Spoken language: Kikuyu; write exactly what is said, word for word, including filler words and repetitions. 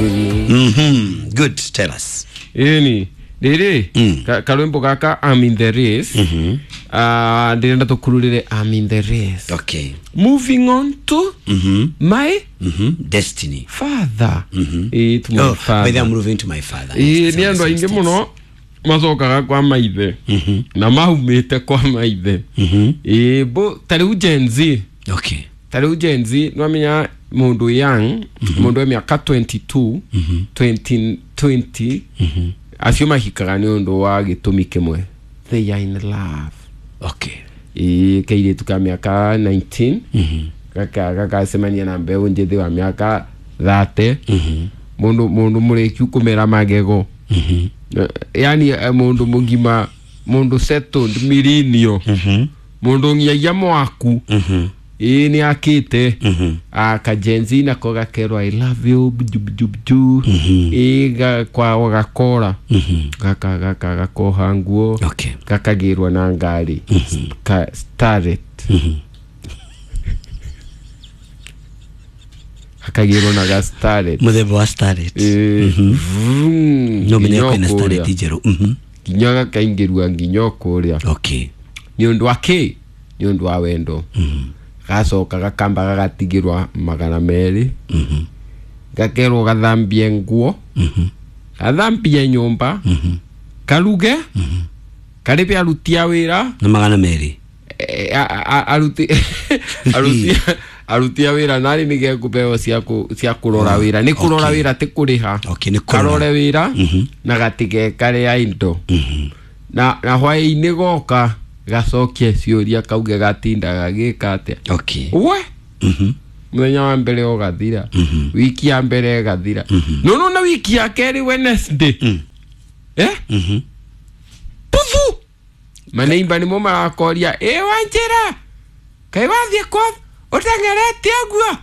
Mhm. Good, tell us. Ĩni rĩrĩ Mm. ka- karwĩmbo gaka I'm in the race. Ah, ndĩrenda tũkururĩre I'm in the race. Okay. Moving on to Mhm. my Mhm. Destiny. father. Ĩĩ, to my Oh, by the father. I'm moving to my father. Ĩĩ, Yes, nĩ andũ aingĩ mũno macokaga kwa maithe na maumĩte kwa maithe. Ĩĩ, bo ta rĩu Gen Z, Okay. ta rĩu Gen Z nĩwamenya mũndũ young, mũndũ wa mĩaka mĩrongo ĩĩrĩ na igĩrĩ, mĩrongo ĩĩrĩ, mĩrongo ĩĩrĩ, acio mahikaga nĩ ũndũ wa gĩtũmi kĩmwe, they are in love. Okay. Ĩĩ, kairĩtu ka mĩaka ikũmi na kenda gaka gakacemania na mbeũ njĩthĩ wa mĩaka mĩrongo ĩtatũ, mũndũ mũndũ mũrĩkiu kũmera magego. Eh, yani eh, mũndũ mũgima, mũndũ settled, millennial, mũndũ ngiagia mwaku. Ĩĩ, nĩ akĩte akajenzi nako gakerwo "I love you" buju buju buju. Ĩĩ, ga- kwao gakora gaka gaka gakoha nguo, Okay. gakagĩrwo na ngari Ka- Starlet, gakagĩrwo na ga Starlet. Muthemba wa Starlet. Ĩĩ, vroom, No menya nginya kwĩna kũrĩa. Starlet njerũ. Mhm. Nginya gakaingĩrua nginya kũrĩa. Okay. Nĩ ũndũ wa kĩ? Nĩ ũndũ wa wendo. Gacoka gakamba gagatigĩrwa magana merĩ, gakerwo gathambie nguo, gathambie nyũmba, karuge, karĩbe aruti a wĩra. Na magana merĩ. Eh, a- a- aruti aruti aruti a wĩra narĩ nĩ gekũbeo cia kũ- cia kũrora wĩra, nĩ kũrora Okay. wĩra, ti kũrĩha. Okay, nĩ kũrora. Karore wĩra na gatigekare indo na na hwaĩ-inĩ goka gacokie ciũria, kauge gatinda gagĩka atĩa. Okay. We Mhm. mũthenya wa mbere ũgathira, wiki ya mbere ĩgathira, no na wiki ya kerĩ, Wednesday, eh Mhm. puthu maneimba nĩmo marakoria, "Ĩ Wanjĩra, kaĩ wathiĩ kwa ũteng'erete ũguo?"